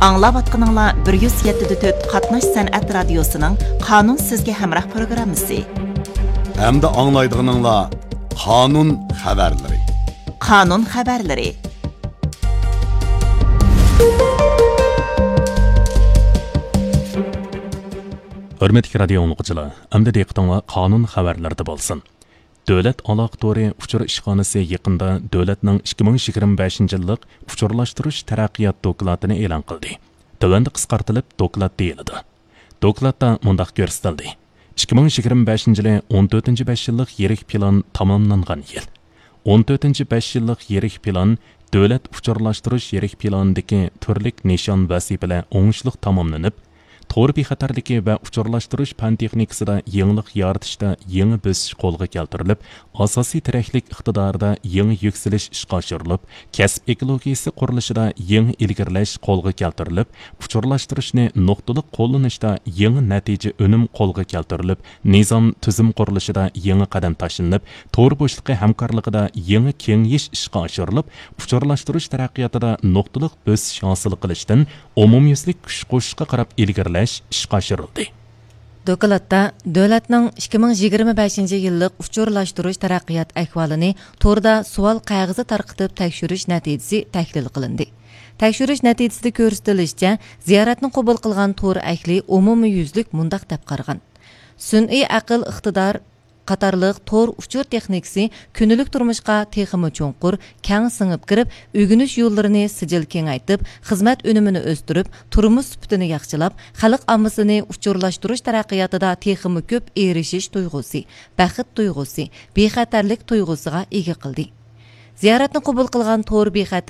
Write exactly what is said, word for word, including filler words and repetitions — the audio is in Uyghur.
ئاڭلاۋاتقىنىڭلار بىر يۈز يەتتە دە تۆت قاتناش سەنئەت رادىيوسىنىڭ قانۇن سىزگە ھەمراھ پروگراممىسى. ئەمدى ئاڭلايدىغىنىڭلار قانۇن خەۋەرلىرى. قانۇن خەۋەرلىرى. ھۆرمەتلىك رادىيو ئاڭلىغۇچىلار، ئەمدى دىققىتىڭلار قانۇن خەۋەرلىرىدە بولسۇن. دۆلەت ئالاقە تورى ئۇچۇر ئىشخانىسى يېقىندا دۆلەتنىڭ ئىككى مىڭ يىگىرمە بەشىنچى يىللىق ئۇچۇرلاشتۇرۇش تەرەققىيات دوكلاتىنى ئېلان قىلدى. تۆۋەندە قىسقارتىلىپ دوكلات دېيىلىدۇ. دوكلاتتا مۇنداق كۆرسىتىلدى: ئىككى مىڭ يىگىرمە بەشىنچى يىلى ئون تۆتىنچى بەش يىللىق يىرىك پىلان تاماملانغان يىل. ئون تۆتىنچى بەش يىللىق يىرىك پىلان دۆلەت ئۇچۇرلاشتۇرۇش يىرىك پىلانىدىكى تۈرلۈك نىشان ۋەزىپىلەر ئوڭۇشلۇق تاماملىنىپ، تور بىخەتەرلىكى ۋە ئۇچۇرلاشتۇرۇش پەن تېخنىكىسىدا يېڭىلىق يارىتىشتا يېڭى بۆسۈش قولغا كەلتۈرۈلۈپ، ئاساسىي تىرەكلىك ئىقتىدارىدا يېڭى يۈكسىلىش ئىشقا ئاشۇرۇلۇپ، كەسىپ ئېكولوگىيىسى قۇرۇلۇشىدا يېڭى ئىلگىرىلەش قولغا كەلتۈرۈلۈپ، ئۇچۇرلاشتۇرۇشنى نۇقتىلىق قوللىنىشتا يېڭى نەتىجە ئۈنۈم قولغا كەلتۈرۈلۈپ، نىزام تۈزۈم قۇرۇلۇشىدا يېڭى قەدەم تاشلىنىپ، تور بوشلۇقى ھەمكارلىقىدا يېڭى كېڭىيىش ئىشقا ئاشۇرۇلۇپ، ئۇچۇرلاشتۇرۇش تەرەققىياتىدا نۇقتىلىق بۆسۈش ھاسىل قىلىشتىن ئومۇميۈزلۈك كۈچ قوشۇشقا قاراپ ئىلگىرىلەش ئىشقا ئاشۇرۇلدى. دوكلاتتا دۆلەتنىڭ ئىككى مىڭ يىگىرمە بەشىنچى يىللىق ئۇچۇرلاشتۇرۇش تەرەققىيات ئەھۋالىنى توردا سوئال قەغىزى تارقىتىپ تەكشۈرۈش نەتىجىسى تەھلىل قىلىندى. تەكشۈرۈش نەتىجىسىدە كۆرسىتىلىشىچە، زىيارەتنى قوبۇل قىلغان تور ئەھلى ئومۇميۈزلۈك مۇنداق دەپ قارىغان: سۈنئىي ئەقىل ئىقتىدار قاتارلىق تور ئۇچۇر تېخنىكىسى كۈندىلىك تۇرمۇشقا تېخىمۇ چوڭقۇر، كەڭ سىڭىپ كىرىپ، ئۆگىنىش يوللىرىنى سىجىل كېڭەيتىپ، خىزمەت ئۈنۈمىنى ئۆستۈرۈپ، تۇرمۇش سۈپىتىنى ياخشىلاپ، خەلق ئاممىسىنى ئۇچۇرلاشتۇرۇش تەرەققىياتىدا تېخىمۇ كۆپ ئېرىشىش تۇيغۇسى، بەخت تۇيغۇسى، بىخەتەرلىك تۇيغۇسىغا ئىگە قىلدى. زىيارەتنى قوبۇل قىلغان تور بىخەتەر